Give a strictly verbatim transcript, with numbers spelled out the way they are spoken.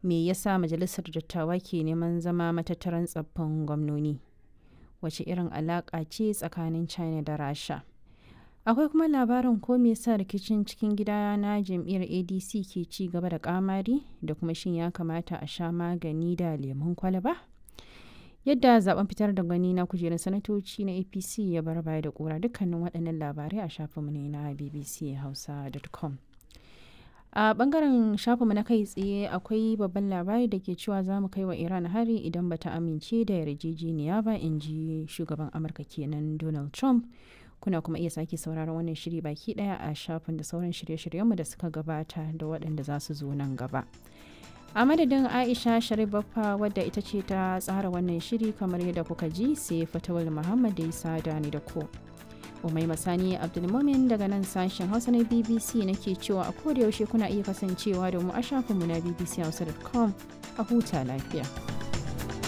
Me yasa majalisar dattawa ke neman zama matattaran tsaffin gwamnoni? Wace irin alaƙa ce tsakanin China da Rasha? Akwai kuma labarin ko me yasa rikicin cikin gida na jam'iyyar A D C ke ci gaba da kamari, da kuma shin ya kamata a sha magani da lemun kwalaba? Yadda zaben fitar da gwani na kujerun sanatoci na A P C ya bar baya da kura, dukkanin waɗannan labarai a shafinmu ne na B B C hausa dot com. A bangaren shafinmu na kai tsaye akwai babban labari da ke cewa za mu kai wa Iran hari idan bata amince da yarjejeniya ba, in ji shugaban Amurka kenan Donald Trump. Kuna kuma iya sake sauraron wannan shiri baki daya a shafin da sauran shirye-shiryenmu da suka gabata da waɗanda za su zo nan gaba. A madadin Aisha Sharif Baffa, wadda ita ce ta tsara wannan shiri kamar yadda kuka ji, sai Fatawul Muhammad da ya sada ni da ku. Umai Masani Abdulmumin daga nan sashen Hausa na B B C nake cewa a koda yaushe kuna iya kasancewa da mu a shafinmu na B B C hausa dot com. A huta lafiya.